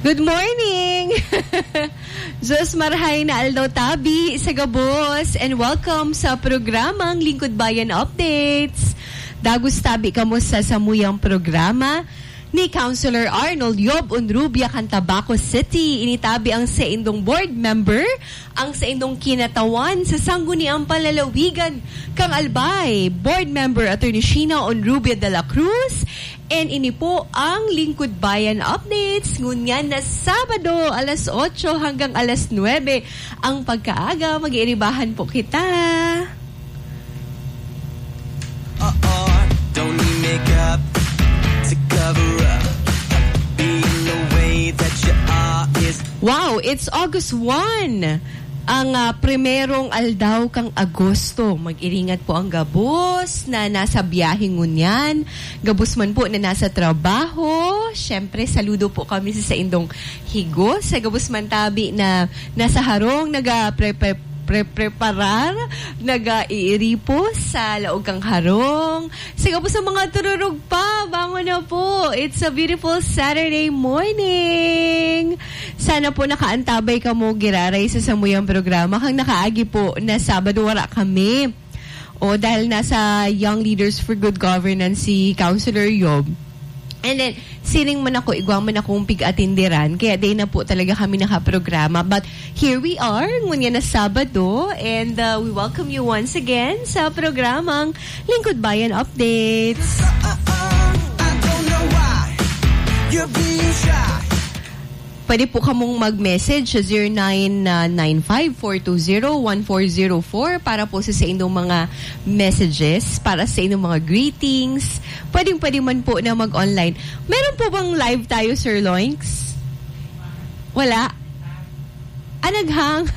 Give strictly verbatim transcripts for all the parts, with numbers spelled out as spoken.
Good morning! Diyos marhay na aldaw tabi sa gabos, and welcome sa programang Lingkod Bayan Updates. Dagos tabi kamo sa samuyang programa ni Councilor Arnold Yob Onrubia kan Tabaco City. Ini tabi ang saindong board member, ang saindong kinatawan sa Sangguniang Panlalawigan kan Albay, board member Attorney Sheena Onrubia de la Cruz, and ini po ang Lingkod Bayan Updates, ngunyan na Sabado, alas otso hanggang alas nuebe ang pagkaaga. Mag-iiribahan po kita. Uh-uh, don't need makeup to cover up. Being the way that you are is Wow, it's August one. Ang, ah, primerong aldaw kan Agosto. Mag-iringat po ang gabos na nasa biyahe ngunyan. Gabos man po na nasa trabaho. Siyempre, saludo po kami sa saindong higos. Sa gabos man tabi na nasa harong, naga-pre-, pre-, pre-, preparar, nag-iiripo sa laog kan harong. Sa gabos sa mga tururog pa, bangon na po. It's a beautiful Saturday morning. Sana po nakaantabay kamo giraray sa samuyang programa. Kan nakaagi po na Sabado, wara kami. O, dahil nasa Young Leaders for Good Governance si Councilor Yob. And then, siring man ako, igwa man akong pig-atinderan, kaya di na po talaga kami nakaprograma. But here we are, ngunyan na Sabado, and, uh, we welcome you once again sa programang Lingkod Bayan Updates. I don't know why you're being shy. Pwede po kamong mag-message sa zero nine nine five four two zero one four zero four para po sa, sa inyong mga messages, para sa inyong mga greetings. Pwedeng-pwede man po na mag-online. Meron po bang live tayo, Sir Loinks? Wala? Ah, naghang.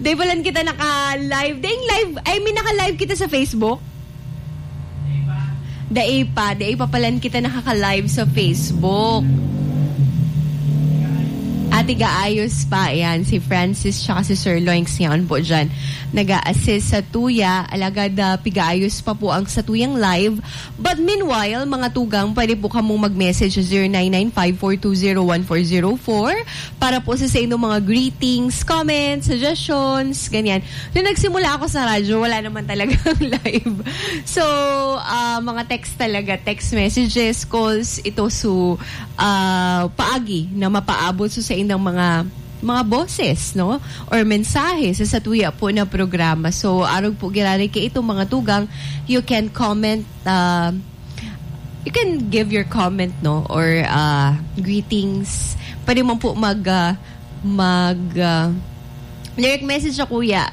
Di palan kita naka-live. Ding live, I mean, naka-live kita sa Facebook. Dai pa, dai pa palan kita nakaka-live sa Facebook. Ate Gaayos pa, ayan, si Francis tsaka si Sir Loinks ngayon po dyan. Nag-a-assist sa tuya, alagad, ah, pigaayos pa po ang sa tuyang live. But meanwhile, mga tugang, pwede po kamong mag-message sa zero nine nine five four two zero one four zero four para po sa, sa inyong mga greetings, comments, suggestions, ganyan. Nung nagsimula ako sa radyo, wala naman talagang live. So, ah, mga text talaga, text messages, calls, ito su, ah, paagi na mapaabot su sa inyong mga, mga boses, no? Or mensahe sa satuya po na programa. So, arog po giraray kay itong mga tugang, you can comment, ah, you can give your comment, no? Or, ah, greetings. Pwede mo po mag, ah, mag, ah, direct message sa kuya.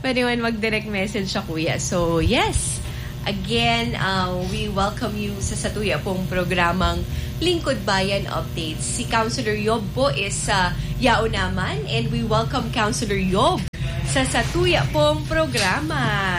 Pwede man mag-direct message sa kuya. So, yes. Again, uh, we welcome you sa satuya pong programang Lingkod Bayan Updates. Si Councilor Yob po is, uh, yaon naman, and we welcome Councilor Yob sa satuya pong programa.